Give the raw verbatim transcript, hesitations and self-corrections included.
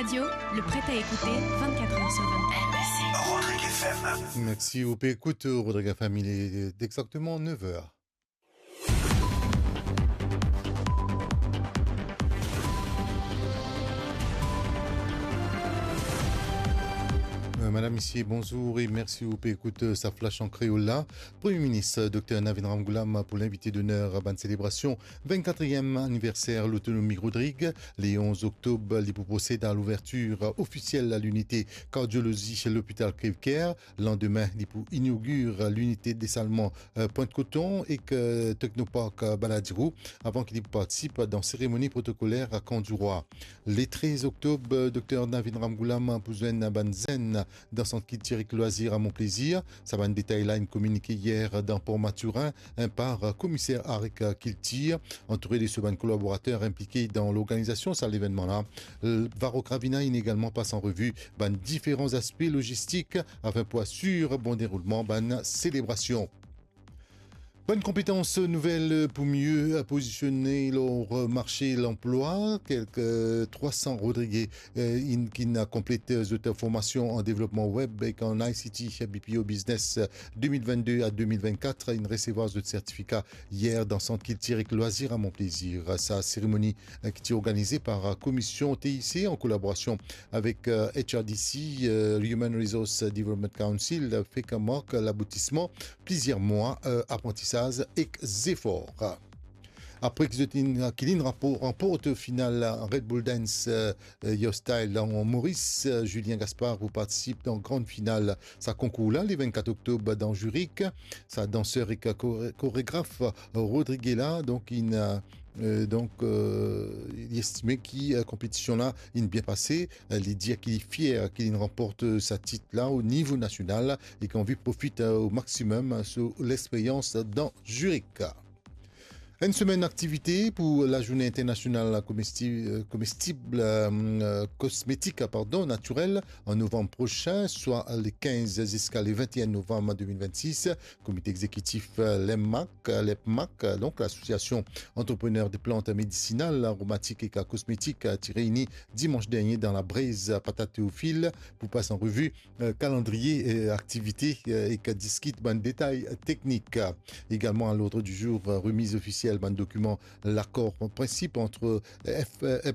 Radio, le prêt à écouter, vingt-quatre heures sur vingt-quatre. Rodrigue F M. Mersi, ou pe ekout Rodrigue F M, il est exactement neuf heures. Euh, madam, misie, bonzour e mersi ou pe ekout, euh, sa Flash an Kreol la. Premie Minis, euh, Dokter Navin Ramgoolam pou linvite doner bann selebrasion vennkatriem aniverser lotonomi Rodrig. Le onz oktob, li pou prosed a louvertir ofisiel linite kardiolozi lopital Crèvecoeur. Landime, li pou inogir linite desalman, euh, Pointe-Coton ek, euh, Technopark, euh, Balladeroue, avan ki li pou partisip dan seremoni protokoler a Kan Dirwa. Le trez oktob, euh, Dokter Navin Ramgoolam pou zwenn bann zenn dan Sant Kiltir ek Lwazir a Mon Plaisir. Sa bann detay la inn kominike yer dan Port Mathurin, hein, par, euh, komiser Arik, euh, Kiltir, antoure de so bann kolaborater inplike dan lorganizasion sa levennman la. Euh, Varrock Ravina inn egalman pas an revi bann diferan zaspe logistik afin pou asir bon deroulman bann selebrasion. Bann konpetans nouvel pou mie pozisione lor marse lanplwa. Kelke trwa san Rodrige, eh, inn, ki'nn konplet zot formasion an devlopman web ek an I C T, B P O Business de mil vennde a de mil vennkat, inn resevwar zot sertifika yer dan Sant Kiltir ek Lwazir a Mon Plaisir. Sa seremoni, eh, ki ti organize par, eh, Komisyon T I C an kolaborasion avek, eh, H R D C, eh, Human Resource Development Council, eh, fek mark laboutisman plizier mwa, eh, aprantisaz ek zefor. Apre ki zot inn, ki linn rapor-, ranport final Red Bull Dance, eh, eh, Your Style dan Moris, eh, Julien Gaspard pou partisip dan gran final sa konkour la, le vennkat oktob dan Zurich. Sa danser ek kore-, koregraf, eh, Rodrigue la, donk, inn, eh, donk, eh, li estime ki, eh, konpetision la inn bien pase. Eh, li dir ki li fier ki linn ranport, eh, sa tit la o nivo nasional e ki anvi profit, eh, o maximum, eh, so lexperyans dan Zurich. Enn semenn aktivite pou lazourne internasional komesti-, eh, komestib, eh, kosmetik, pardon, natirel an novanm prosin, swa le kinz ziska le vennteen novanm de mil vennsis. Komite exekitif, eh, l'EMMAC, eh, l'EPMAC, eh, donk Lasosiasion Antreprener de Plant Medisinal, Aromatik ek Kosmetik, eh, ti reyni dimans dernie dan labrez Patate Théophile pou pas an revi, eh, kalandriye, eh, aktivite, eh, ek diskit bann detay teknik. Egalman, a lord di zour, eh, remiz ofisiel bann dokiman lakor an prensip ant, eh, F-, eh,